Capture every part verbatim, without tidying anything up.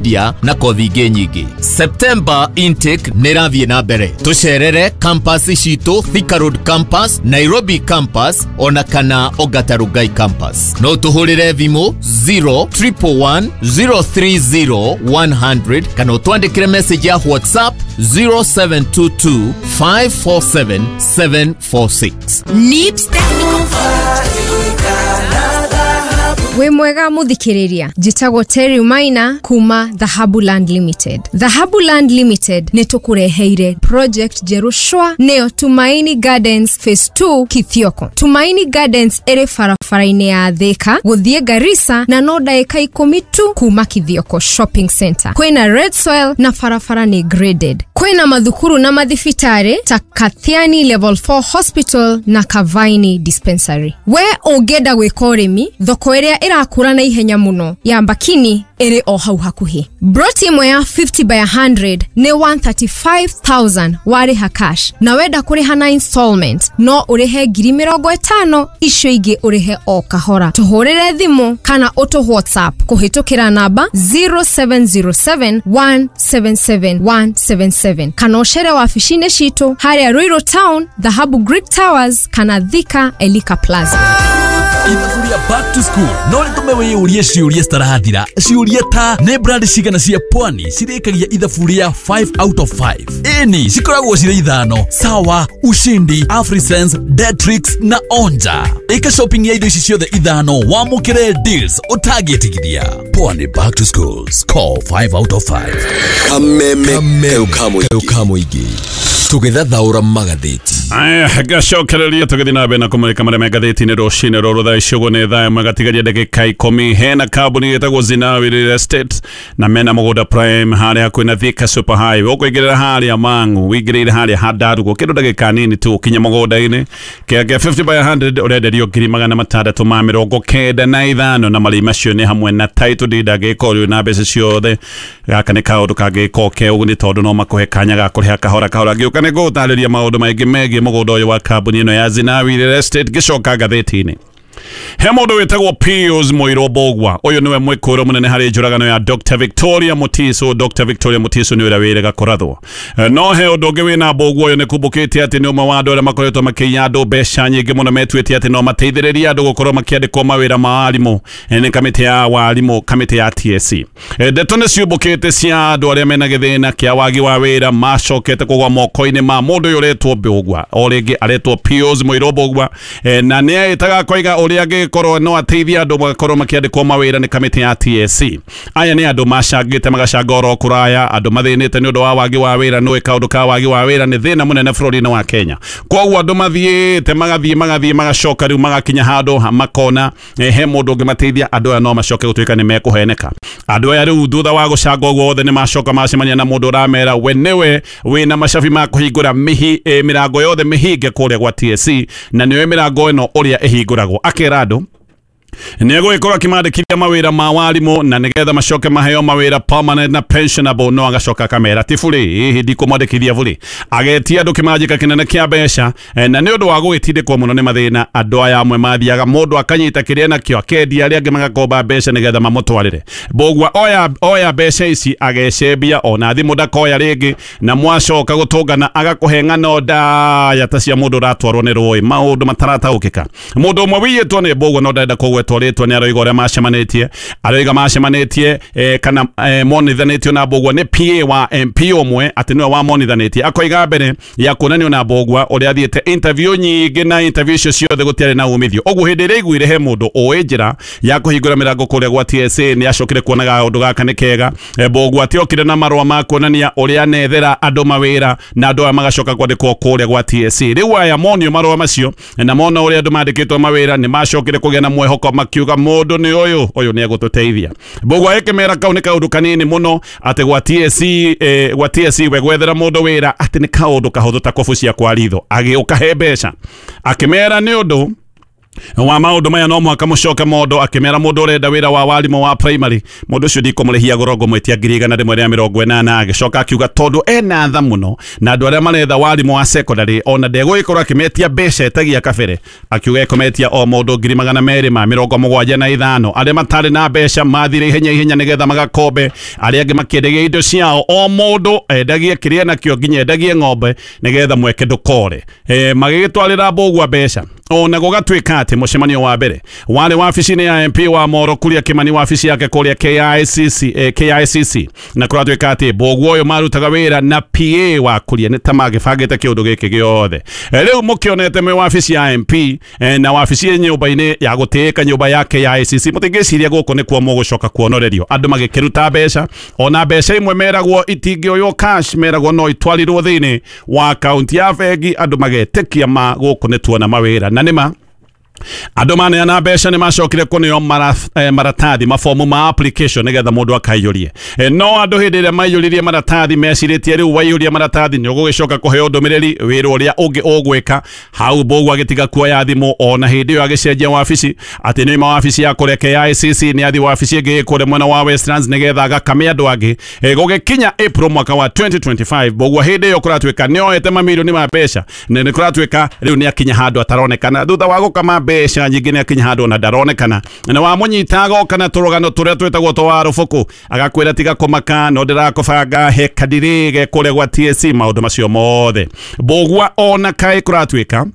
Media na kothi ingĩ nyingĩ. September intake nĩ ĩrathiĩ na mbere. Tũcerere campus citũ Thika Road Campus, Nairobi Campus ona kana Ongata Rongai Campus. No tũhũrĩre thimũ zero triple one zero three zero one hundred kana ũtwandĩkĩre message ya WhatsApp zero seven two two five four seven seven four six. Nips Technical. Wĩ mwega mũthikĩrĩria, njĩtagwo Terry Maina kuma Dhahabu Land Limited. Dhahabu Land Limited nĩ tũkũreheire project njerũ shwa, nĩyo Tumaini Gardens Phase two Kithioko. Tumaini Gardens ĩrĩ barabara-inĩ ya Thika gũthiĩ Garissa na no ndagĩka ikũmi tu kuma Kithioko Shopping Center. Kwĩna red soil na barabara nĩ graded. Kwĩna mathukuru na mathibitarĩ ta Kathiani Level four Hospital na Kavaini Dispensary. We ũngĩenda gwĩka ũrĩmi, thoko ĩrĩa ĩrakũra na ihenya mũno ya Mbakini ĩrĩ o hau hakuhĩ. Broti ĩmwe ya fifty by one hundred nĩ one hundred thirty-five thousand warĩha cash, na wenda kũrĩha na installment no ũrĩhe ngiri mĩrongo ĩtano, icio ingĩ ũrĩhe o kahora. Tũhũrĩre thimũ kana ũtũ WhatsApp kũhĩtũkĩra namba zero seven zero seven one seven seven one seven seven kana ũcere wabici-inĩ citũ harĩa Ruiru Town, Dhahabu Greek Towers kana Thika Elika Plaza. Ithabu rĩa back to school no rĩtũme wĩyũrie ciũria citarathira, ciũria ta nĩ brand cigana cia pwani cirĩkagia ithabu rĩa five out of five? Ĩni, cikoragwo cirĩ ithano: Sawa, Ushindi, Afrisense, Detrix na Onja. Ĩka shopping ya indo ici ciothe ithano wamũkĩre deals ũtangĩtigithia. Pwani back to school, score five out of five. Kameme ka mũingĩ tũgĩthathaũra magathĩti. Aya, ngacokereria tũgĩthiĩ na mbere na kũmũrĩka marĩa me ngathĩti-inĩ rũcinĩ rũrũ. Thaa ici ũguo nĩ thaa ĩmwe gatigaria ndagĩka ikũmi. Hena kambuni ĩtagwo Zinawi Real Estate na mena mũgũnda prime harĩa hakuhĩ na Thika Super Highway. Ũkũingĩrĩra harĩa Mang'u, wĩingĩrĩire harĩa Handarugo, kĩndũ ndagĩka nini tu ũkinye mũgũnda-inĩ. Kĩanga kĩa fifty by one hundred ũrenderio ngiri magana matandatũ ma mĩrongo kenda na ithano, na marĩhi macio nĩ hamwe na title deed angĩkorwo ũrĩ na mbeca ciothe. Gaka nĩ kaũndũ kangĩka ke ũguni tondũ no makũhe kanya ga kũrĩha kahora kahora. Ngĩũka nĩ ngũgũtarĩria maũndũ maingĩ megiĩ mũgũnda ũyũ wa kambuni ĩno ya Zinawi Real Estate. Ngĩcoka ngathĩti-inĩ, he mũndũ wĩtagwo Pius Mũirũ Mbũgua. Ũyũ nĩwe mwĩkũĩrwo mũnene harĩ njũragano ya Doctor Victoria Mutiso. Doctor Victoria Mutiso nĩ ũrĩa wĩrĩga kũrathwo. Eh, no he ũndũ ũngĩ wĩna Mbũgua. Ũyũ nĩ kumbũkĩte atĩ nĩ ũmwe wa andũ arĩa makoretwo makĩiya andũ mbeca nyingĩ mũno, metuĩte atĩ no mateithĩrĩrie andũ gũkorwo makĩandĩkwo mawĩra ma arimũ eh, nĩ kamĩtĩ ya warimũ, kamĩtĩ ya T S C. Eh, ndeto nĩ ciumbũkĩte cia andũ arĩa mena gĩthĩna kĩa wagi wa wĩra macokete kũgwa moko-inĩ ma mũndũ ũyũ ũretwo Mbũgua, o rĩngĩ aretwo Pius Mũirũ Mbũgua, eh, na nĩ aĩtaga koiga ũrĩa angĩkorwo no ateithie andũ magakorwo makĩandĩkwo mawĩra nĩ kamĩtĩ ya T S C. Aya nĩ andũ macangĩte magacanga oro kũraya, andũ mathĩnĩte nĩ ũndũ wa wagi wa wĩra. Nĩ kaũndũ ka wagi wa wĩra nĩ thĩna mũnene bũrũri-inĩ wa Kenya. Koguo andũ mathiĩte magathiĩ magathiĩ magacoka rĩu magakinya handũ ha- makona eh, he mũndũ ũngĩmateithia. Andũ aya no macoke gũtuĩka nĩ mekũheneka. Andũ aya rĩu thutha wa gũcanga ũguo wothe nĩ macoka macemania na mũndũ ũramera we nĩwe wĩna macabi ma kũhingũra mĩhi, eh, mĩrango yothe mĩhinge kũrĩa gwa T S C, na nĩwe mĩrango ĩno ũrĩa ĩhingũragwo. Akera andũ nĩ egũgĩkorwo akĩmandĩkithia mawĩra ma warimũ na nĩgetha macoke maheo mawĩra permanent na pensionable. No agacoka akamera ti burĩ, ĩhĩ, ndikũmwandĩkithia burĩ. Agetia andũ kĩmanjĩka kĩnene kĩa mbeca, eh, na nĩ ũndũ wa gũgĩtindĩkwo mũno nĩ mathĩna, andũ aya amwe mathiaga mũndũ akanyita kĩrĩa nakĩo akendia, arĩa angĩ magakomba mbeca nĩgetha mamũtwarĩre. Mbũgua oya oya mbeca ici agecembia, ona thimũ ndakoya rĩngĩ, na mwacoka gũtũngana agakũhe ng'ano ndaya ta cia mũndũ ũratwarwo nĩ rũĩ, maũndũ matarataũkĩka. Mũndũ ũmwe wiyĩtwo nĩ Mbũgua no ndarenda kũgwetwo rĩtwa nĩ aroiga ũrĩa macemanĩtie, aroiga macemanĩtie eh, kana eh, monithanĩtio na Mbũgua nĩ P A wa M P ũmwe, atĩ nĩwe wamonithanĩtie. Akoiga mbere ya kuonanio na Mbũgua ũrĩa athiĩte interview nyingĩ, na interview icio ciothe gũtiarĩ na umithio. Ũguo hĩndĩ ĩrĩa aiguire he mũndũ ũĩ njĩra ya kũhingũra mĩrango kũrĩa gwa T S A, nĩ acokire kuonaga ũndũ gaka nĩ kega. Eh, Mbũgua atiokire na marũa ma kuonania ũrĩa anethera andũ mawĩra na andũ aya magacoka kwandĩkwo kũrĩa gwa T S C. Rĩu aya monio marũa macio na mona ũrĩa andũ mandĩkĩtwo mawĩra, nĩ macokire kũgĩa na mwĩhoko, makiuga mũndũ nĩ ũyũ, ũyũ nĩ egũtũteithia. Mbũgua ĩkĩmera kau nĩ kaũndũ kanini mũno, atĩ gwa T S C, eh, gwa T S C we gwethera mũndũ wĩra atĩ nĩ kaũndũ kahũthũ ta kũbucia kwa ritho. Agĩũka he mbeca akĩmera nĩ ũndũ Wa maũndũ maya no mũhaka mũcoke mondo akĩmera mũndũ ũrenda wĩra wa warimũ wa primary mũndũ ũcio ndikũmũrĩhia goro ngũmwĩtia ngiri igana rĩmwe rĩa mĩrongo ĩnana. Agĩcoka akiuga tondũ ena tha mũno na andũ arĩa maretha warimũ wa secondary ona ndegũgĩkorwo akĩmetia mbeca etagia kabere, akiuga ekũmetia o mũndũ ngiri magana merĩ ma mĩrongo mũgwanja na ithano. Arĩa matarĩ na mbeca mathire ihenya ihenya nĩgetha magakombe, arĩa angĩ makĩendagia indo ciao, o mũndũ endagie kĩrĩa nakĩo nginya endagie ng'ombe nĩgetha mweke ndũkore. E, magĩgĩtwarĩra Mbũgua mbeca ona gũgatuĩka atĩ mũcemanio wa mbere warĩ wabici-inĩ ya M P wa Moro Kuria Kimani, wabici yake kũrĩa K I C C, eh, K I C C, na kũratuĩka atĩ Mbũgua ũyũ marutaga wĩra na P A wa Kuria nĩ ta magĩbangĩte kĩũndũ gĩkĩ gĩothe. Rĩu mũkĩonete mwĩ wabici ya M P eh, na wabici nyũmba-inĩ ya gũtĩĩka nyũmba ya K I C C, mũtingĩciria gũkũ nĩkuo mũgũcoka kuonorerio. Andũ magĩkĩruta mbeca, ona mbeca imwe meragwo itingĩoywo cash, meragwo no itwarirwo thĩinĩ wa akaunti ya bengi, andũ magetĩkia ma gũkũ nĩ tuona mawĩra. Na nĩma andũ maneana mbeca nĩ macokire kũneo mara, eh, maratathi mabomu ma application nĩgetha mũndũ akaiyũrie. Eh, no andũ hĩndĩ ĩrĩa maiyũririe maratathi mecirĩtie rĩu waiyũria maratathi nĩ ũgũgĩcoka kũheo ndũmĩrĩri wĩra ũrĩa ũngĩ ũgwĩka. Hau Mbũgua agĩtiga kuoya thimũ ona hĩndĩ ĩyo agĩcenjia wabici atĩ nĩ wabici ya kũrĩa K I C C nĩ athi wabici ĩngĩ kũrĩa mwena wa Westlands nĩgetha agakame andũ angĩ. Eh, gũgĩkinya April mwaka wa twenty twenty-five Mbũgua hĩndĩ ĩyo kũratuĩka nĩ oete mamirioni ma mbeca na nĩ kũratuĩka rĩu nĩ akinya handũ ataronekana thutha wa gũkama mbeca nyingĩ nĩ akinya handũ ona ndaronekana na wamũnyita agoka na tũrũgano tũrĩa twĩtagwo twa rũbũkũ agakwĩra tiga kũmaka no ndĩrakũbanga he kadiri ge kũrĩa gwa T S C maũndũ macio mothe. Mbũgua ona kaĩ kũratuĩka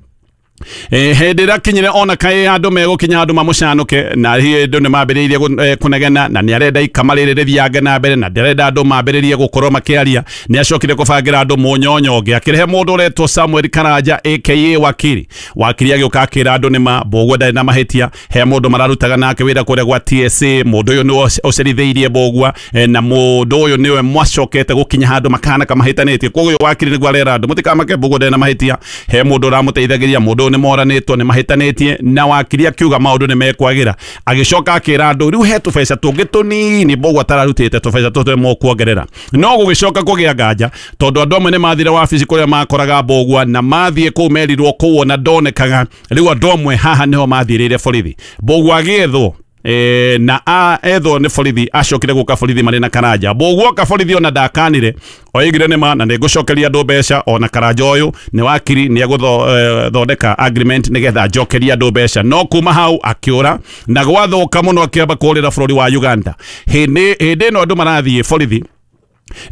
Eh, hĩndĩ ĩrĩa akinyire ona kaĩ andũ megũkinya andũ mamũcanũke na hĩndĩ nĩ mambĩrĩirie kũnegena na nĩ arenda ikama rĩrĩ rĩthiange na mbere na ndarenda andũ mambĩrĩrie gũkorwo makĩaria, nĩ acokire kũbangĩra andũ mũnyonyo ũngĩ akĩrehe mũndũ ũretwo Samuel Karanja aka Wakiri. Wakiri agĩũka akĩra andũ nĩma Mbũgua ndarĩ na mahĩtia, he mũndũ mararutaga nake wĩra kũrĩa gwa T S A, mũndũ ũyũ nĩwe ũcerithĩirie Mbũgua na mũndũ ũyũ nĩwe mwacokete gũkinya handũ makahana kamahĩtanĩtie. Koguo Wakiri nĩguo arera andũ mũtikamake Mbũgua ndarĩ na mahĩtia, he mũndũ ũramũteithagĩria, mũndũ nĩ moranĩtwo nĩ mahĩtanĩtie, na Wakiri akiuga maũndũ nĩ mekwagira. Agĩcoka akĩra andũ rĩu he tũbeca tũngĩ tũnini Mbũgua atararutĩte tũbeca tũtũ mũkuongerera. No gũgĩcoka kũgĩa nganja tondũ andũ amwe nĩ mathire wabici kũrĩa makoraga Mbũgua na mathiĩ kũu merirwo kũu ona ndonekaga. Rĩu andũ amwe haha nĩho mathirĩire borithi. Mbũgua agĩethwo e, na a ethwo nĩ borithi, acokire gũka borithi marĩ na Karanja. Mbũgua oka borithi ona ndakanire oigire nĩ ma na nĩ ngũcokeria andũ mbeca, ona Karanja ũyũ nĩ wakiri nĩ egũthondeka agreement nĩgetha njokerie andũ mbeca. No kuma hau akĩũra na gwathũka mũno akĩamba kũũrĩra bũrũri wa Uganda. Hĩndĩ hĩndĩ ĩno andũ marathiĩ borithi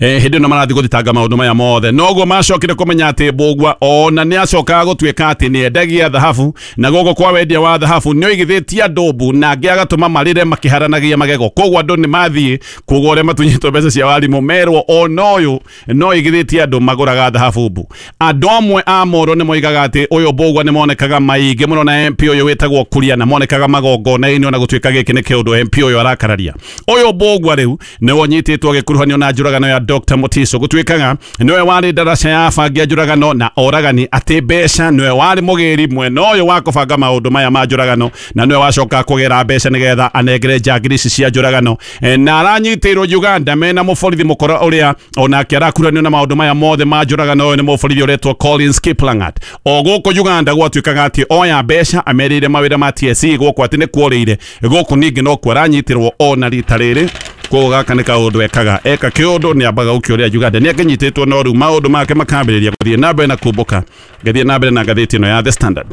Eh, hĩndĩ ĩno marathiĩ gũthitanga maũndũ maya mothe, noguo macokire kũmenya atĩ Mbũgua ona nĩ acokaga gũtuĩka atĩ nĩ endagia thahabu, na gũkũ kwa wendia wa thahabu nĩ oigithĩtie andũ mbu na angĩ agatũma marĩre makĩharanagia magego. Koguo andũ nĩ mathiĩ kuga ũrĩa matunyĩtwo mbeca cia warimũ merwo ona ũyũ no oigithĩtie andũ magũraga thahabu mbu. Andũ amwe a Moro nĩ moigaga atĩ ũyũ Mbũgua nĩ monekaga maingĩ mũno na M P ũyũ wĩtagwo Kuria na monekaga magongona-inĩ ona gũtuĩka gĩkĩ nĩ kĩũndũ M P ũyũ arakararia. Ũyũ Mbũgua rĩu nĩwe ũnyitĩtwo agĩkuruhanio na njũragano ya Doctor Mutiso, gũtuĩkaga nĩwe warĩ ndaraca ya abangi a njũragano na oragani, atĩ mbeca nĩwe warĩ mũgĩri mwena ũyũ wa kũbanga maũndũ maya ma njũragano na nĩwe wacoka kũgĩra mbeca nĩgetha anengere njangiri ici cia njũragano. E, na aranyitĩirwo Uganda mena mũborithi mũkora ũrĩa onake arakuranio na maũndũ maya mothe ma njũragano. Ũyũ nĩ mũborithi ũretwo Collins Kiplangat. O gũkũ Uganda gwatuĩkaga atĩ oya mbeca amerire mawĩra ma T S C gũkũ atĩ nĩ kuorĩire, gũkũ ningĩ nokuo aranyitĩrwo ona rita rĩrĩ. Koguo gaka nĩ kaũndũ ekaga eka kĩũndũ nĩ ambaga gũkĩũrĩa Uganda nĩ akĩnyitĩtwo no rĩu maũndũ make makambĩrĩria gũthiĩ na mbere na kumbũka. Ngĩthiĩ na mbere na ngathĩti ĩno ya The Standard.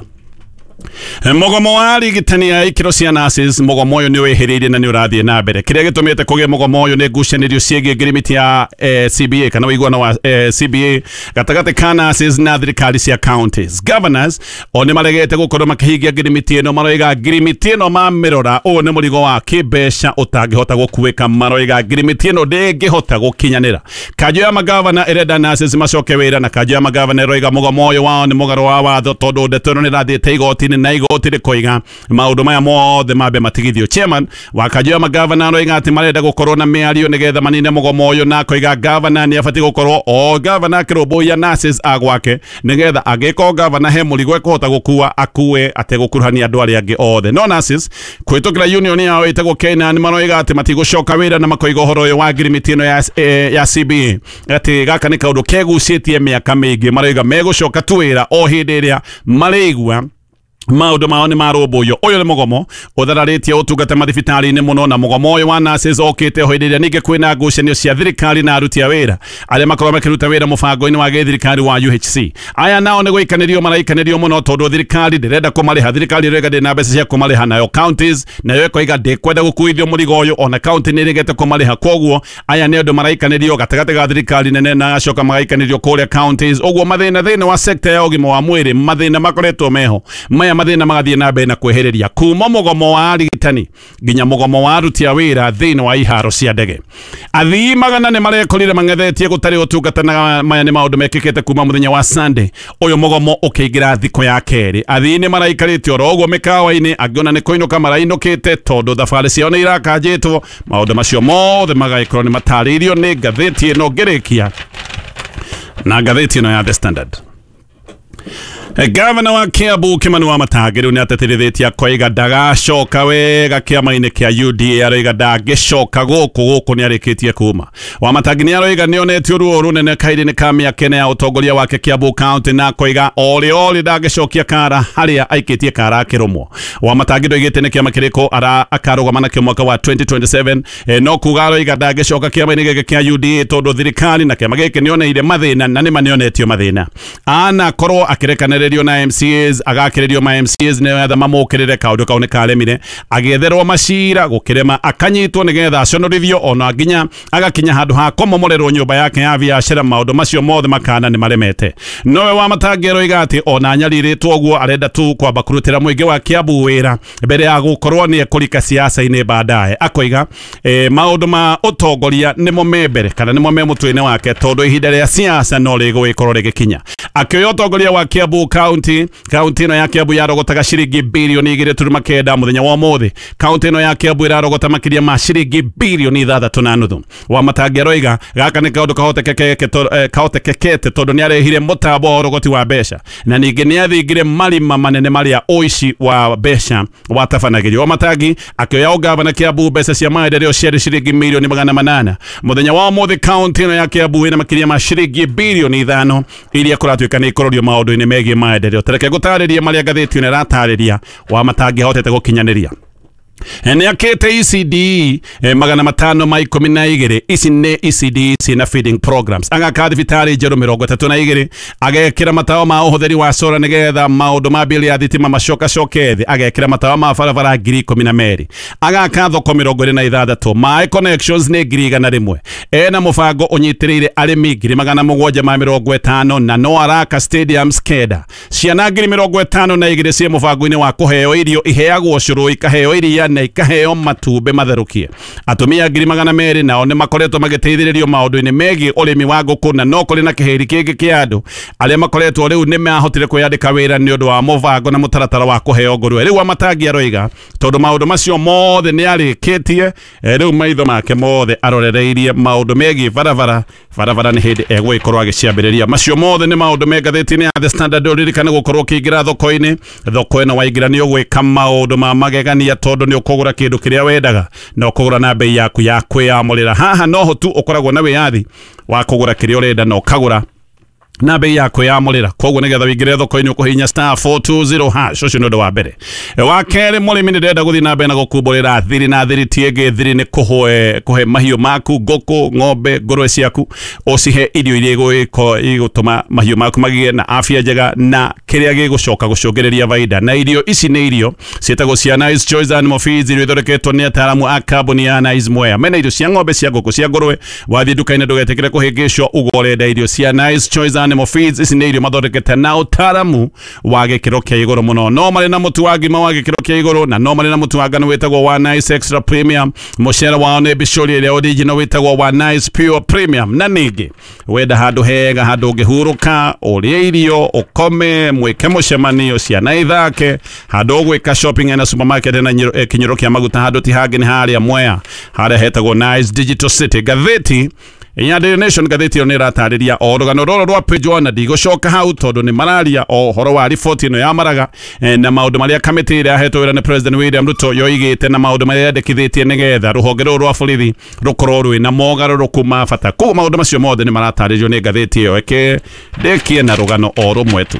Mũgomo wa arigitani a ikĩro cia nurses, mũgomo ũyũ nĩ wĩhĩrĩirie na nĩ ũrathiĩ na mbere. Kĩrĩa gĩtũmĩte kũgĩe mũgomo ũyũ nĩ ngucanĩrio ciĩgiĩ ngirimiti ya eh, C B A kana ũiguano wa eh, C B A gatagatĩ ka nurses na thirikari cia counties. Governors o nĩ maregete gũkorwo makĩhingia ngirimiti ĩno, maroiga ngirimiti ĩno mamĩrora ũyũ nĩ mũrigo wa kĩmbeca ũtangĩhota gũkuĩka, maroiga ngirimiti ĩno ndĩngĩhota gũkinyanĩra. Kanjũ ya magavana ĩrenda nurses macoke wĩra, na kanjũ ya magavana ĩroiga mũgomo ũyũ wao nĩ mũgarũ wa watho tondũ ndeto ĩno nĩ ĩrathiĩte igoti-inĩ na igoti rĩkoiga maũndũ maya mothe mambe matigithio. Chairman wa kanjũ ya magavana aroiga atĩ marenda gũkorwo na mĩario nĩgetha manine mũgomo ũyũ, na akoiga gavana nĩ abatiĩ gũkorwo o gavana akĩrũmbũiya nurses a gwake nĩgetha angĩkorwo gavana he mũrigo ekũhota gũkua akue ategũkuruhania andũ arĩa angĩ othe. No nurses kũhĩtũkĩra union yao ĩtagwo Kena nĩ maroiga atĩ matigũcoka wĩra na makoiga ũhoro ũyũ wa ngirimiti ĩno ya, eh, ya C B A atĩ gaka nĩ kaũndũ kegucĩtie mĩaka mĩingĩ, maroiga megũcoka tu wĩra o hĩndĩ ĩrĩa marĩigua Maundu mao nĩ marũmbũiyo. Ũyũ nĩ mũgomo ũthararĩtie ũtungata mathibitarĩ-inĩ mũno, na mũgomo ũyũ wa nurses okĩte hĩndĩ ĩrĩa ningĩ kwĩna ngucanio cia thirikari na aruti a wĩra arĩa makoragwo makĩruta wĩra mũbango-inĩ wa gĩthirikari wa U H C. Aya nao nĩ gũikanĩrio maraikanĩrio mũno tondũ thirikari ndĩrenda kũmarĩha. Thirikari ĩrauga ndĩrĩ na mbeca cia kũmarĩha, nayo counties nayo ĩkoiga ndĩkwenda gũkuithio mũrigo ũyũ, ona county nĩ ĩregete kũmarĩha. Koguo aya nĩ andũ maraikanĩrio gatagatĩ ga thirikari nene na agacoka magaikanĩrio kũrĩa counties. Ũguo mathĩna thĩinĩ wa sector ya ũgima wa mwĩrĩ, mathĩna makoretwo meho maya mathĩna magathiĩ na mbere na kwehereria kuma mũgomo wa arigitani nginya mũgomo wa aruti a wĩra thĩinĩ wa iharo cia ndege. Athii magana nĩ marekorire mang'ethetie gũtarĩ ũtungata, na maya nĩ maũndũ mekĩkĩte kuma mũthenya wa Sunday ũyũ mũgomo ũkĩingĩra thikũ ya kerĩ. Athii nĩ maraikarĩte oro ũguo mĩkawa-inĩ, angĩ ona nĩ kũinũka marainũkĩte tondũ thabarĩ ciao nĩ irakanjĩtwo. Maũndũ macio mothe magagĩkorwo nĩ matarĩirio nĩ ngathĩti ĩno ngĩrĩkia na ngathĩti ĩno ya The Standard. Gavana wa Kiambu Kimani Wamatangi rĩu nĩ ateterithĩtie akoiga ndagacoka wega kĩama-inĩ kĩa U D A, aroiga ndangĩcoka gũkũ gũkũ nĩ arĩkĩtie kuma. Wamatangi nĩ aroiga nĩ onetio ruo rũnene kahinda-inĩ ka mĩaka ĩna ya ũtongoria wake Kiambu County, na akoiga orĩ orĩ ndangĩcokia kara harĩa aikĩtie kara akĩrũmwo. Wamatangi ndoigĩte nĩ kĩama kĩrĩkũ akarũgama nakĩo mwaka wa twenty twenty-seven, no kuga aroiga ndangĩcoka kĩama-inĩ gĩkĩ kĩa U D A tondũ thirikari na kĩama gĩkĩ nĩoneire mathĩna na nĩma nĩonetio mathĩna. Anakorwo akĩrekanĩrĩrio na M C As, agakĩrĩrio ma M C As nĩgetha mamũkĩrĩre, kaũndũ kau nĩ karemire. Agĩetherwo macira gũkĩrema, akanyitwo nĩgetha aconorithio, ona nginya agakinya handũ ha kũmomorerwo nyũmba yake ya biacara. Maũndũ macio mothe makana nĩ maremete. Nowe Wamatangi aroiga atĩ ona anyarirĩtwo ũguo arenda tu kwamba kũrutĩra mũingĩ wa Kiambu wĩra mbere ya gũkorwo nĩ ekũrika siasa-inĩ baadaye. Akoiga eh, maũndũ ma ũtongoria nĩmo me mbere kana nĩmo me mũtwe-inĩ wake tondũ ihinda rĩa siasa no rĩgũgĩkorwo rĩgĩkinya. Akĩoya ũtongoria wa Kiambu County, kaunti ĩno ya Kiambu yarogotaga ciringi bilioni igĩrĩ turuma kenda mũthenya wa ũmũthĩ. Kaunti ĩno ya Kiambu ĩrarogota makĩria ma ciringi bilioni ithathatũ na nuthu. Wamatangi aroiga gaka nĩ kaũndũ kahotekekete tondũ nĩ arehire mũtambo wa ũrogoti wa mbeca na ningĩ nĩ athingire marima manene marĩa ũici wa mbeca watabanagĩrio. Wamatangi akĩoya ũgavana Kiambu mbeca cia maendeleo ciarĩ ciringi milioni magana manana. Mũthenya wa ũmũthĩ kaunti ĩno ya Kiambu ĩna makĩria ma ciringi bilioni ithano iria kũratuĩka nĩ ikũrũrio maũndũ-inĩ megiĩ maendeleo. Tareke ngũtarĩrie marĩa ngathĩti ĩno ĩratarĩria Wamatangi ahotete gũkinyanĩria. Nĩ akĩte E C D magana matano ma ikũmi na igĩrĩ. Ici nĩ E C D ciĩna feeding programs. Agaka thibitarĩ njerũ mĩrongo ĩtatũ na igĩrĩ, agekĩra matawa ma ũhũthĩri wa solar nĩgetha maũndũ ma bili ya thitima macokacoke thĩ, agekĩra matawa ma barabara ngiri ikũmi na merĩ, agaka thoko mĩrongo ĩrĩ na ithathatũ, maĩ connections nĩ ngiri igana rĩmwe, ena mũbango ũnyitĩrĩire arĩmi ngiri magana mũgwanja ma mĩrongo ĩtano na no araka stadiums kenda. Ciana ngiri mĩrongo ĩtano na igĩrĩ ciĩ mũbango-inĩ wa kũheo irio iheagwo cũrũ, ikaheo iria na ikaheo matumbĩ matherũkie. Atumia ngiri magana merĩ nao nĩ makoretwo magĩteithĩrĩrio maũndũ-inĩ megiĩ ũrĩmi wa ngũkũ, na no kũrĩ na kĩhĩri kĩngĩ kĩa andũ arĩa makoretwo rĩu nĩ mahotire kwĩyandĩka wĩra nĩ ũndũ wa mũbango na mũtaratara wa kũheo ngũrwe. Rĩu Wamatangi aroiga tondũ maũndũ macio mothe nĩ arĩkĩtie, rĩu maitho make mothe arorereirie maũndũ megiĩ barabara. Barabara nĩ hĩndĩ egũgĩkorwo agĩciambĩrĩria. Macio mothe nĩ maũndũ me ngathĩti-inĩ ya The Standard. Ũririkane gũkorwo ũkĩingĩra thoko-inĩ. Thoko ĩno waingĩra nĩ ũgwĩka maũndũ ma magegania tondũ nĩ ũkũgũra kĩndũ kĩrĩa wendaga na ũkũgũra na bei yaku ya kwĩyamũrĩra. Haha noho tu ũkoragwo na wĩyathi wa kũgũra kĩrĩa ũrenda na ũkagũra na bei ya kwĩyamũrĩra. Koguo nĩgetha wĩingĩre thoko-inĩ ũkũhihinya star four two zero hash. Ũcio nĩ ũndũ wa mbere. Wa kerĩ, mũrĩmi nĩ ndĩrenda gũthiĩ na mbere na gũkumbũrĩra thiri na thiri ti ĩngĩ. Thiri nĩ kũhe kũhe mahiũ maku, ngũkũ, ng'ombe, ngũrwe ciaku, ũcihe irio iria igũtũma mahiũ maku magĩe na afya njega na kĩrĩa gĩgũcoka gũcũngĩrĩria baida. Na irio ici nĩ irio ciĩtagwo cia Nice Choice Animal Feeds, irio ithondeketwo nĩ ataaramu a kambuni ya Nice Mwea. Mena irio cia ng'ombe, cia ngũkũ, cia ngũrwe. Wathiĩ nduka-inĩ ndũgetĩkĩre kũhĩngĩcwo uga ũrenda irio cia Nice Choice Animal Feeds. Ici nĩ irio mathondekete na ũtaaramu wa gĩkĩro kĩa igũrũ mũno. No marĩ na mũtu wa ngima wa gĩkĩro kĩa igũrũ na no marĩ na mũtu wa ngano wĩtagwo wa Nice Extra Premium. Mũcere wao nĩ bicũri ĩrĩa original wĩtagwo wa Nice Pure Premium. Na ningĩ wenda handũ hega, handũ ũngĩhurũka, ũrĩe irio, ũkome, mwĩke mũcemanio, ciana ithake, handũ ũgwĩka shopping na supermarket na kinyũro kĩa maguta, handũ ti hangĩ nĩ harĩa Mwea, harĩa hetagwo Nice Digital City. Ngathĩti ya Daily Nation, ngathĩti ĩyo nĩ ĩratarĩria o rũgano rũrũ rwa page one, na ndigũcoka hau tondũ nĩ mararia o ũhoro wa riboti ĩno ya Maraga na maũndũ marĩa kamĩtĩ ĩrĩa yahetwo wĩra nĩ President William Ruto yoigĩte na maũndũ marĩa yandĩkithĩtie nĩgetha rũhonge rũrũ rwa borithi rũkorwo rwĩna mogarũrũku ma bata. Koguo maũndũ macio mothe nĩ maratarĩrio nĩ ngathĩti ĩyo. Eke ndĩkie na rũgano o rũmwe tu.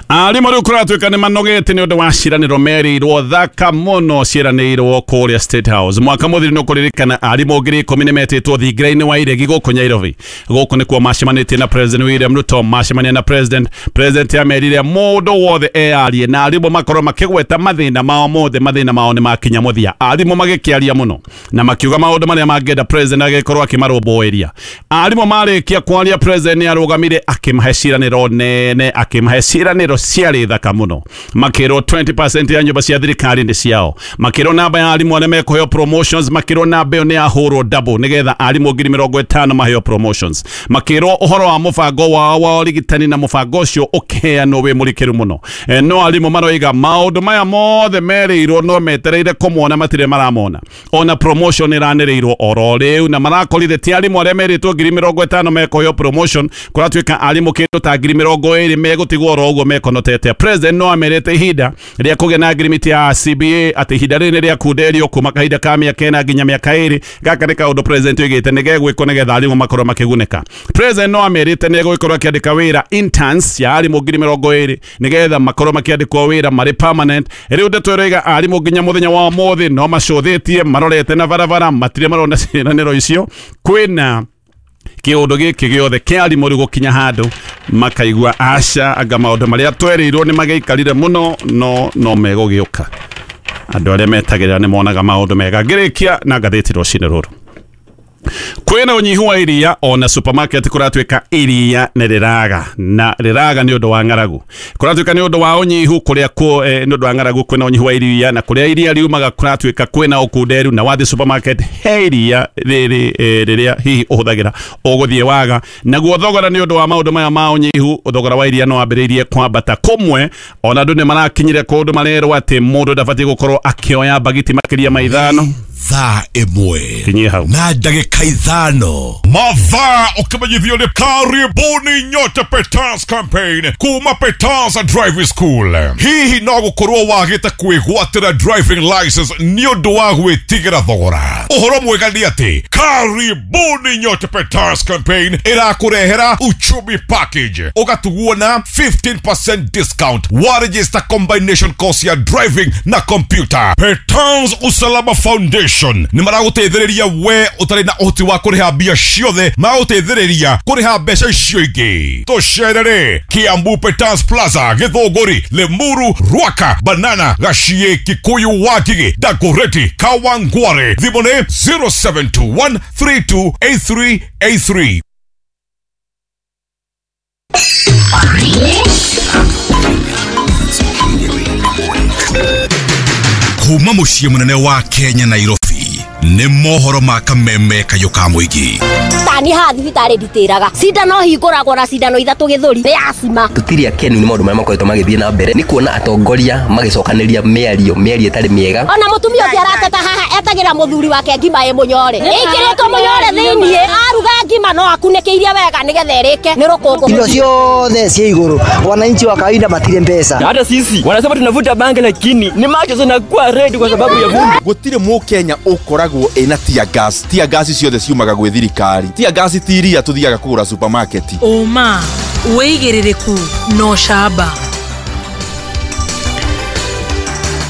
Arimũ rĩu kũratuĩka nĩ manogete nĩ ũndũ wa ciĩranĩro merĩirwo thaka mũno ciĩranĩirwo kũrĩa State House. Mwaka mũthiru nĩ ũkũririkana arimũ ngiri ikũmi nĩ metĩtwo thingira-inĩ wa iregi gũkũ Nairobi. Gũkũ nĩkuo macemanĩtie na President William Ruto, macemania na President. President amerire mũndũ wothe eyarie na arimũ makorwo makĩgweta mathĩna mao mothe, mathĩna mao nĩ makinya mũthia. Arimũ magĩkĩaria mũno na makiuga maũndũ marĩa mangĩenda President agĩkorwo akĩmarũmbũĩria. Arimũ marĩkia kwaria, President nĩ arũgamire akĩmahe ciĩranĩro nene, akĩmahe ciĩranĩro ciarĩ thaka mũno. Makĩrwo twenty percent ya nyũmba cia thirikari nĩ ciao, makĩrwo namba ya arimũ arĩa mekũheo promotions, makĩrwo namba ĩyo nĩ yahũrwo double nĩgetha arimũ ngiri mĩrongo ĩtano maheo promotions, makĩrwo ũhoro wa mũbango wao wa ũrigitani na mũbango ũcio ũkĩheanwo wĩ mũrikĩru mũno. E, no arimũ maroiga maũndũ maya mothe merĩirwo no metereire kũmona matirĩ maramona. Ona promotion ĩranĩrĩirwo oro rĩu na marakorire ti arimũ arĩa merĩtwo ngiri mĩrongo ĩtano mekũheo promotion, kũratuĩka arimũ kĩndũ ta ngiri mĩrongo ĩrĩ megũtigwo oro ũguo mekonotete. President no amerite ihinda rĩa kũgĩa na agreement ya C B A atĩ ihinda rĩrĩ nĩ rĩakunderio kuma kahinda ka mĩaka ĩna nginya mĩaka ĩrĩ. Gaka nĩ kaũndũ President oigĩte nĩ gegwĩkwo nĩgetha arimũ makorwo makĩgunĩka. President no amerite nĩ egũgĩkorwo akĩandĩka wĩra interns ya arimũ ngiri mĩrongo ĩrĩ nĩgetha makorwo makĩandĩkwo wĩra marĩ permanent. Rĩu ndeto ĩroiga arimũ nginya mũthenya wa ũmũthĩ no macũthĩtie marorete na barabara, matirĩ marona ciĩranĩro icio. Kwĩna kĩũndũ gĩkĩ gĩothe kĩa arimũ rĩu gũkinya handũ makaigua aca anga maũndũ marĩa twerĩirwo nĩ magĩikarire mũno no no megũgĩũka. Andũ arĩa metagĩrĩra nĩ monaga maũndũ mega. Ngĩrĩkia na ngathĩti rũcinĩ rũrũ. Kwĩna ũnyihu wa iria ona supermarket kũratuĩka iria nĩ rĩraga na rĩraga nĩ ũndũ wa ng'aragu. Kũratuĩka nĩ ũndũ wa ũnyihu kũrĩa kũ eh, nĩ ũndũ wa ng'aragu kwĩna ũnyihu wa iria na kũrĩa iria riumaga kũratuĩka kwĩna ũkunderu na wathiĩ supermarket he iria rĩrĩ eh, rĩrĩa hihi ũhũthagĩra ũgũthiĩ waga. Naguo thogora nĩ ũndũ wa maũndũ maya ma ũnyihu, thogora wa iria no wambĩrĩirie kwambata kũmwe. Ona andũ nĩ marakinyire kũndũ marerwo atĩ mũndũ ndabatiĩ gũkorwo akĩoya mbagiti makĩria ma ithano. Thaa ĩmwe na ndagĩka ithano. Mathaa ũkĩmenyithio nĩ karibuni nyote Peters campaign kuma Peters Driving School. Hihi no gũkorwo wagĩte kwĩgwatĩra driving license nĩ ũndũ wa gwĩtigĩra thogora? Ũhoro mwega nĩ atĩ karibuni nyote Peters campaign ĩrakũrehera uchumi package ũgatugwo na fifteen percent discount wa register combination course ya driving na computer. Peters Usalama Foundation nĩ maragũteithĩrĩria we ũtarĩ na ũhoti wa kũrĩha mbia ciothe, maragũteithĩrĩria kũrĩha mbeca icio ingĩ. Tũcerere Kiambu Peters Plaza, Githũngũri, Limuru, Ruaka, Banana, Gachie, Kikuyu, Wangigĩ, Dagoretti, Kawangware. Thimũ nĩ zero seven two one three two eight three eight three. Kuma mũciĩ mũnene wa Kenya Nairobi nĩ mohoro ma kameme kayũ ka mũingĩ. Tani haha thibitarĩ nditĩraga cindano hingũragwo na cindano ithatũ gĩthũri nĩ acima. Tũtirĩ akenu nĩ maũndũ marĩa makoretwo magĩthiĩ na mbere nĩ kuona atongoria magĩcokanĩria mĩario mĩario ĩtarĩ mĩega. Ona mũtumia ũngĩ arateta haha etagĩra mũthuri wake ngima ĩ mũnyore ĩkĩrĩtwo mũnyore thĩiniĩ aruga ngima no akunĩkĩirie wega nĩgetha ĩrĩke nĩ rũkũngũ. Indo ciothe ciĩ igũrũ, wananchi wa kawaida matirĩ mbeca. Na hata sisi wanasema tunavuta bangi lakini ni macho zinakuwa red kwa sababu ya vumbi. Gũtirĩ mũkenya ũkoragwo ĩna tear gas. Tear gas ciothe ciumaga gwĩ thirikari. Tear gas ti iria tũthiaga kũgũra supermarket. Ũma wĩigĩrĩrĩku no camba.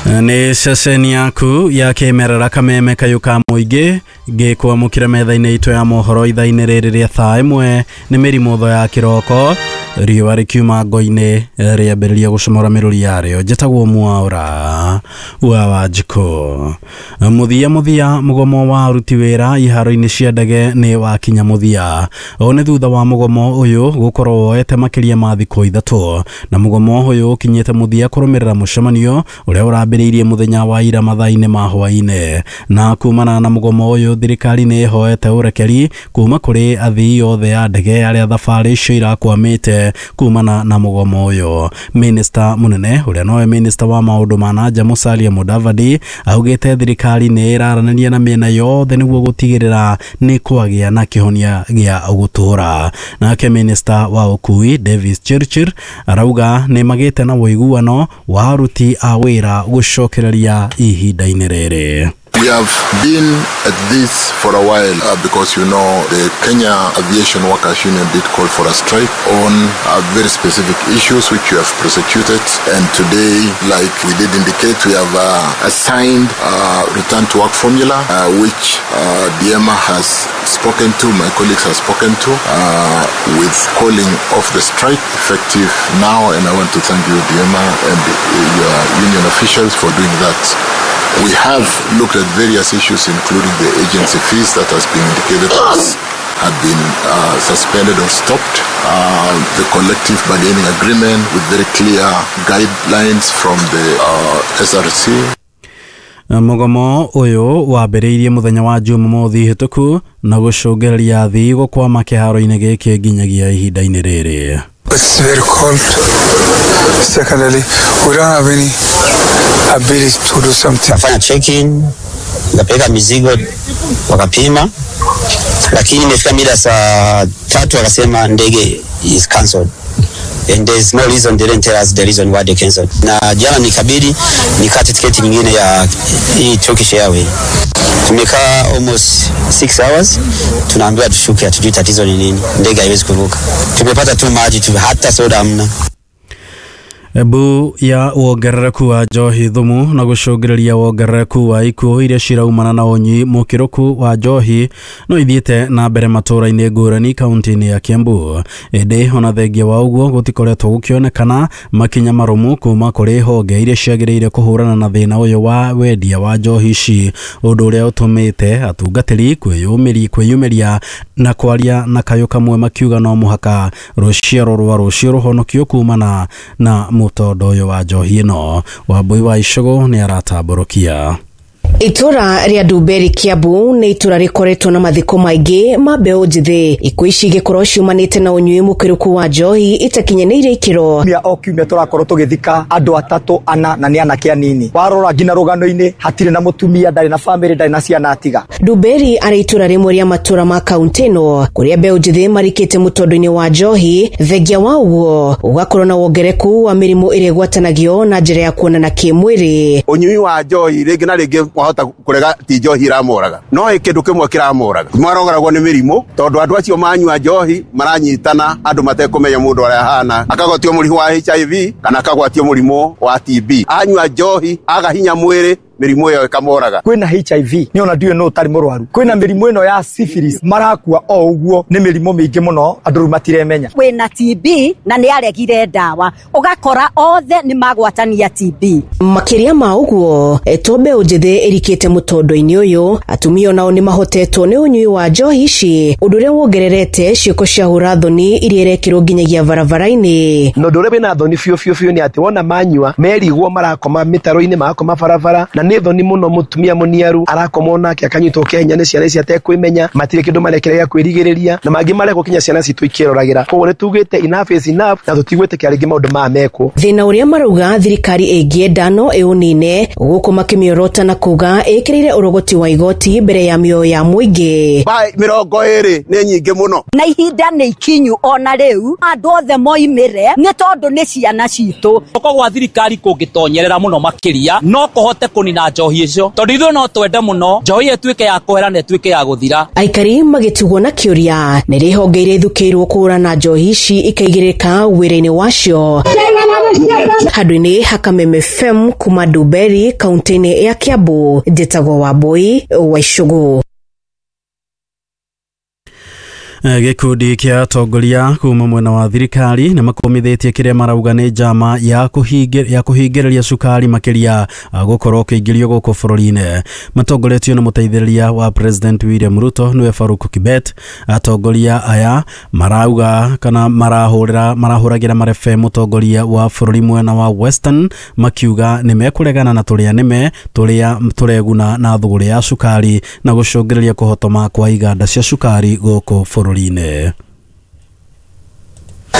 Nĩ ceceni yaku ya kĩmerera kameme kayũ ka mũingĩ ngĩkwamũkĩra metha-inĩ itũ ya mohoro ithaa-inĩ rĩrĩ rĩa thaa ĩmwe nĩ mĩrimũ tho ya kĩroko riũa rĩkiuma ngo-inĩ rĩambĩrĩria gũcomora mĩrũri yarĩo. Njĩtagwo Mwaũra wa Wanjikũ. Mũthia mũthia mũgomo wa aruti wĩra iharo-inĩ cia ndege nĩ wakinya mũthia. Ũũ nĩ thutha wa mũgomo ũyũ gũkorwo woete makĩria ma thikũ ithatũ, na mũgomo ũyũ ũkinyĩte mũthia kũrũmĩrĩra mũcemanio ũrĩa ũrambĩrĩirie mũthenya wa ira mathaa-inĩ ma hwaĩ-inĩ. Na kumana na mũgomo ũyũ thirikari nĩ ĩhoete ũrekeri kuma kũrĩ athii othe a ndege arĩa thabarĩ icio irakwamĩte kumana na mũgomo ũyũ. Minista mũnene ũrĩa nowe minista wa maũndũ ma na nja Musalia Mudavadi augĩte thirikari nĩ ĩraranĩria na mĩena yothe nĩguo gũtigĩrĩra nĩ kwagĩa na kĩhonia gĩa gũtũũra. Nake minista wa ũkui Davis Chirchir arauga nĩ magĩte na ũiguano wa aruti a wĩra gũcokereria ihinda-inĩ rĩrĩ. We have been at this for a while uh, because you know the Kenya Aviation Workers Union did call for a strike on uh, very specific issues which we have prosecuted, and today, like we did indicate, we have uh, assigned uh, return to work formula uh, which uh, D M A has spoken to, my colleagues have spoken to, uh, with calling off the strike effective now, and I want to thank you, D M A, and your union officials for doing that. We have looked at various issues, including the agency fees that has been indicated as had been uh, suspended or stopped, uh, the collective bargaining agreement with very clear guidelines from the uh, S R C. Mugomo uyu wambĩrĩirie mũthenya wa Jumamothi hĩtũku na gũcũngĩrĩria athii gũkwama kĩharo-inĩ gĩkĩ nginyagia ihinda-inĩ rĩrĩ. It's very cold. Secondly, we don't have any ability to do something. Nafanya check-in, nikapeleka mizigo wakapima, lakini imefika mida saa tatu wakasema ndege is cancelled. And there's no reason, they didn't tell us the reason why they cancelled. Na jana nikabidi nikate tiketi nyingine ya hii Turkish Airways. Tumekaa almost six hours, tunaambiwa tushuke, hatujui tatizo ni nini. Ndege haiwezi kuruka. Tumepata tu maji tu, hata soda hamna. Ebu ya wongerereku wa njohi thumu na gũcũngĩrĩria wongerereku wa ikuũ iria ciraumana na ũnyui mũkĩrũku wa njohi no ithiĩte na mbere matũũra-inĩ ngũrani kaunti-inĩ ya Kiambu. Ĩndĩ ona thengia wa ũguo gũtikoretwo gũkĩonekana makinya marũmu kuma kũrĩ honge iria ciagĩrĩire kũhũrana na thĩna ũyũ wa wendia wa njohi ici, ũndũ ũrĩa ũtũmĩte atungatĩri kwĩyumĩria na kwaria na kayũ kamwe makiuga no mũhaka rũciaro rwa rũciũ rũhonokio kumana na mutondo ũyũ wa njohi ĩno. Wambui wa Icũgũ nĩ aratambũrũkia. Itura ria Ndumberi Kiambu nĩ itura rĩkoretwo na mathiko maingĩ ma mbeũ njĩthĩ. Ikuũ ici igĩkorwo ciumanĩte na ũnyui mũkĩrũku wa njohi itakinyanĩire ikĩro. Kiumia o kiumia tũrakorwo tũgĩthika andũ atatũ ana na nĩ anake anini. Warora nginya rũgano-inĩ hatirĩ na mũtumia, ndarĩ na famĩlĩ, ndarĩ na ciana atiga. Ndumberi arĩ itura rĩmwe rĩa matũra ma kaunti ĩno kũrĩa mbeũ njĩthĩ marikĩte mũtondo-inĩ wa njohi, thengia wa ũguo ũgakorwo na wongereku wa mĩrimũ ĩrĩa ĩgwatanagio na njĩra ya kuonana kĩmwĩrĩ. Ũnyui wa njohi rĩngĩ na rĩngĩ wahota kurega ti njohi iramoraga no ĩ kĩndũ kĩmwe kĩramoraga maroragwo nĩ mĩrimũ tondũ andũ acio manyua njohi maranyitana andũ matekũmenya mũndũ ũrĩa ahana, akagwatio mũrimũ wa H I V kana akagwatio mũrimũ wa T B. Anyua njohi aga hinya mwĩrĩ, mĩrimũ ĩyo ĩkamoraga. Kwĩna H I V nĩ ona ndiũĩ no ũtarĩ mũrwaru, kwĩna mĩrimũ ĩno ya syphilis marakua o ũguo, nĩ mĩrimũ mĩingĩ mũno andũ rĩu matiremenya. Kwĩna T B na nĩ aregire ndawa, ũgakora othe nĩ magwatania T B. Makĩria ma ũguo to mbeũ njĩthĩ ĩrikĩte mũtondo-inĩ ũyũ, atumia onao nĩ mahotetwo nĩ ũnyui wa njohi ici, ũndũ ũrĩa wongererete ciĩko cia hũra-thoni iria irekĩrwo nginyagia barabara-inĩ. Na ũndũ ũrĩa wĩna thoni biũ biũ biũ nĩ atĩ wona manyua merigwo marakoma mĩtaro-inĩ, marakoma barabara, na nĩ thoni mũno mũtumia mũniaru arakoma onake akanyitwo kĩahinya nĩ ciana ici atekwĩmenya, matirĩ kĩndũ marekera gĩa kwĩrigĩrĩria, na mangĩ marekwo kinya ciana citũ ikĩroragĩra. Koguo nĩ tugĩte enough is enough na tũtigwĩtĩkĩra rĩngĩ maũndũ maya mekwo. Thĩna ũrĩa marauga thirikari ĩngĩenda no ĩũnine, gũkũ makĩmĩorota na kuga ĩkĩrĩire ũrogoti wa igoti mbere ya mĩoyo ya mũingĩ. Bai mĩrongo ĩrĩ nĩ nyingĩ mũno na ihinda nĩ ikinyu ona rĩu andũ othe moimĩre nĩ tondũ nĩ ciana citũ. Guoko gwa thirikari kũngĩtonyerera mũno makĩria no kũhote kũnina njohi icio, tondũ ithuĩ no twende mũno njohi ĩtuĩke ya kũhera na ĩtuĩke ya gũthira. Aikari magĩtigwo na kĩũria nĩ rĩ honge iria ithukĩirwo kũhũrana njohi ici ikaigĩrĩka wĩra-inĩ wacio. Handũ-inĩ ha Kameme F M kuma Ndumberi kaunti-inĩ ya Kiambu, njĩtagwo Wambui wa Icũgũ. Gĩkundi kĩa atongoria kuma mwena wa thirikari nĩ makũmithĩtie kĩrĩa marauga nĩ njama ya kũhingĩrĩria cukari makĩria gũkorwo ũkĩingĩrio gũkũ bũrũri-inĩ. Matongoretio nĩ mũteithĩrĩria wa President William Ruto nĩwe Farouk Kibet. Atongoria aya marauga kana marahũrĩra marahũragĩra marebe mũtongoria wa bũrũri mwena wa Western makiuga nĩ mekũregana na tũrĩa nĩme tũrĩa tũreguna na thũgũrĩ ya cukari na gũcũngĩrĩria kũhotoma kwa iganda cia cukari gũkũ bũrũri.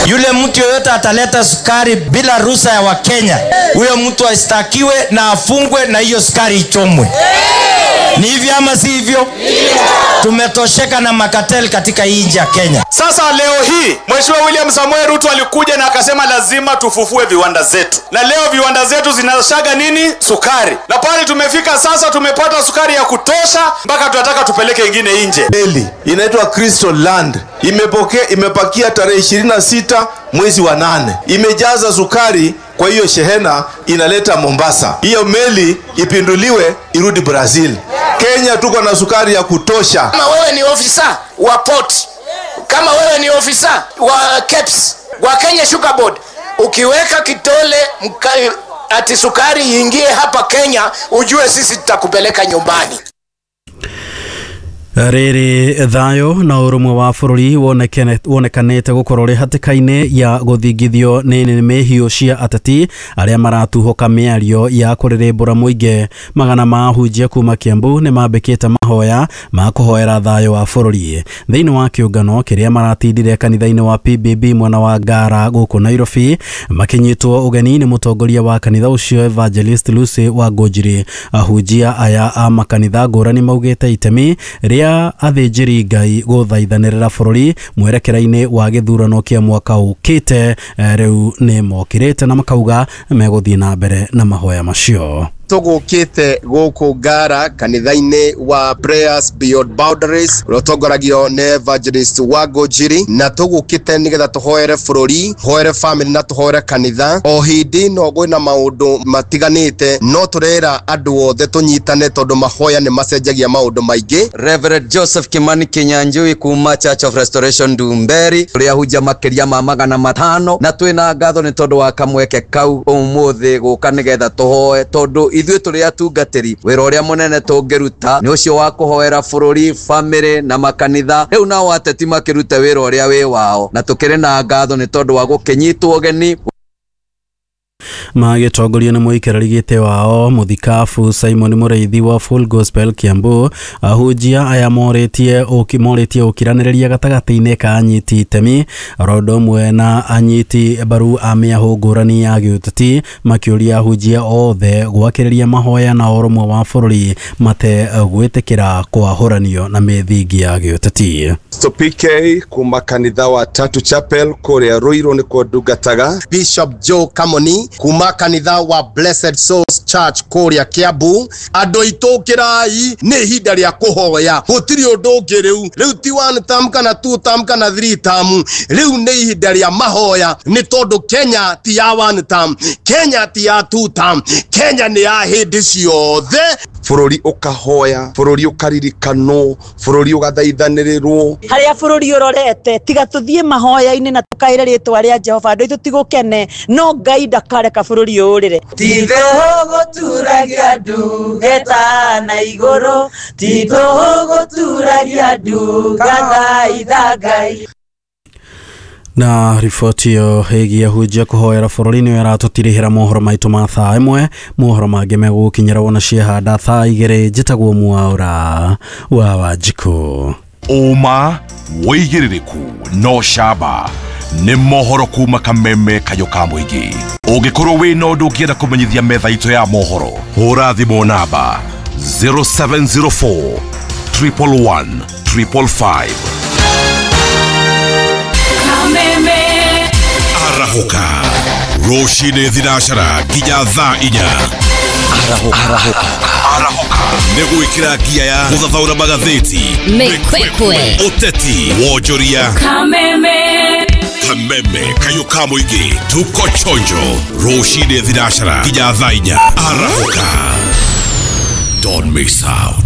Yule mtu yoyote ataleta sukari bila ruhusa ya Wakenya, huyo mtu ashtakiwe na afungwe na hiyo sukari ichomwe. Ni hivyo ama si hivyo? Tumetosheka na makatel katika hii nchi ya Kenya. Sasa leo hii Mheshimiwa William Samoei Ruto alikuja na akasema lazima tufufue viwanda zetu, na leo viwanda zetu zinashaga nini? Sukari. Na pale tumefika sasa, tumepata sukari ya kutosha mpaka tunataka tupeleke ingine nje. Meli inaitwa Crystal Land imepokea, imepakia tarehe ishirini na sita mwezi wa nane, imejaza sukari kwa hiyo shehena inaleta Mombasa. Hiyo meli ipinduliwe irudi Brazil. Kenya tuko na sukari ya kutosha. Kama wewe ni ofisa wa port, kama wewe ni ofisa wa KEPS, wa Kenya Sugar Board, ukiweka kitole mka, ati sukari iingie hapa Kenya, ujue sisi tutakupeleka nyumbani. Rĩrĩ thayũ na ũrũmwe wa bũrũri wonekanĩte gũkorwo rĩ hatĩka-inĩ ya gũthingithio nĩ nĩmĩ hiũ cia ateti arĩa maratuhũka mĩario ya kũrĩrĩmbũra mũingĩ. Magana ma ahunjia kuma Kiambu nĩ mambĩkĩte mahoya ma kũhoera thayũ wa bũrũri thĩinĩ wa kĩũngano kĩrĩa maratindire kanitha-inĩ wa P B B mwena wa Ngara gũkũ Nairobi, makĩnyitwo ũgeni nĩ mũtongoria wa kanitha ũcio Evangelist Lucy Wangũnjiri. Ahunjia aya a makanitha ngũrani maugĩte itemi rĩa athĩnjĩri Ngai gũthaithanĩrĩra bũrũri mwerekera-inĩ wa gĩthurano kĩa mwaka ũkĩte rĩu nĩ mokĩrĩte na makauga megũthiĩ na mbere na mahoya macio. Tũgũkĩte gũkũ Ngara kanitha-inĩ wa Prayers Beyond Boundaries ũrĩa ũtongoragio nĩ Evangelist Wangũnjiri, na tũgũkĩte nĩgetha tũhoere bũrũri, tũhoere family na tũhoere kanitha. O hĩndĩ no kwĩna maũndũ matiganĩte, no tũrera andũ othe tũnyitane tondũ mahoya nĩ macenjagia maũndũ maingĩ. Reverend Joseph Kimani Kinyanjui kuma Church of Restoration Ndumberi, ũrĩa hunja makĩria ma magana matano, na twĩna ngatho nĩ tondũ wa kamweke kau ũmũthĩ gũka nĩgetha tũhoe, tondũ ithuĩ tũrĩ atungatĩri wĩra ũrĩa mũnene tũngĩruta nĩ ũcio wa kũhoera bũrũri, family na makanitha. Rĩu nao ateti makĩrute wĩra ũrĩa wĩ wao, na tũkĩrĩ na ngatho nĩ tondũ wa gũkĩnyitwo ũgeni. Magĩtongorio nĩ mũikarĩri gĩtĩ wao mũthikabu Simon Mũrĩithi wa Full Gospel Kiambu, ahunjia aya morĩtie morĩtie ũkiranĩrĩria gatagatĩ-inĩ ka anyiti itemi oro ũndũ ũmwe na anyiti mbaru a mĩahũ ngũrani ya gĩũteti, makĩũria ahunjia othe gwakĩrĩria mahoya na ũrũmwe wa bũrũri mate gwĩtĩkĩra kwahũranio na mĩthingi ya gĩũteti. P K kuma kanitha wa Tatu Chapel kũrĩa Ruiru nĩkuo ndungataga. Bishop Joe Kamoni kuma kanitha wa Blessed Souls Church kũrĩa Kiambu. Andũ aitũ kĩrai, nĩ ihinda rĩa kũhoya, gũtirĩ ũndũ ũngĩ rĩu. Rĩu ti one term kana two term kana three term, rĩu nĩ ihinda rĩa mahoya, nĩ tondũ Kenya ti ya one term, Kenya ti ya two term, Kenya nĩ ya hĩndĩ ciothe. Bũrũri ũkahoya, bũrũri ũkaririkanwo, bũrũri ũgathaithanĩrĩrwo. Harĩa bũrũri ũrorete, tiga tũthiĩ mahoya-inĩ na tũkaĩre rĩtwa rĩa Jehova, andũ aitũ tigũkene, no Ngai ndakareka bũrũri ũrĩre. Ti tũhũ gũturagia ndungata na igũrũ, ti tũhũ gũturagia ndungata Ngai. Na riboti ĩyo ĩgiĩ ahunjia kũhoera bũrũri nĩyo ĩratũtirihĩra mohoro maitũ ma thaa ĩmwe. Mohoro mangĩ megũgũkinyĩra wona ciehanda thaa igĩrĩ. Njĩtagwo Mwaũra wa Wanjikũ. Ũma wĩigĩrĩrĩku no camba nĩ mohoro kuma Kameme kayũ ka mũingĩ. Ũngĩkorwo wĩna ũndũ ũngĩenda kũmenyithia metha itũ ya mohoro, hũra thimũ namba zero seven zero four triple one triple five. Kameme Arahũka rũcinĩ thinacara nginya thaa inya. Arahũka. Arahũka nĩ gwĩkĩra ngia ya gũthathaũra magathĩti, mĩkwekwe, ũteti, wonjoria. Kameme Kameme kayũ ka mũingĩ, tuko chonjo rũcinĩ thinacara nginya thaa inya. Arahũka, don't miss out.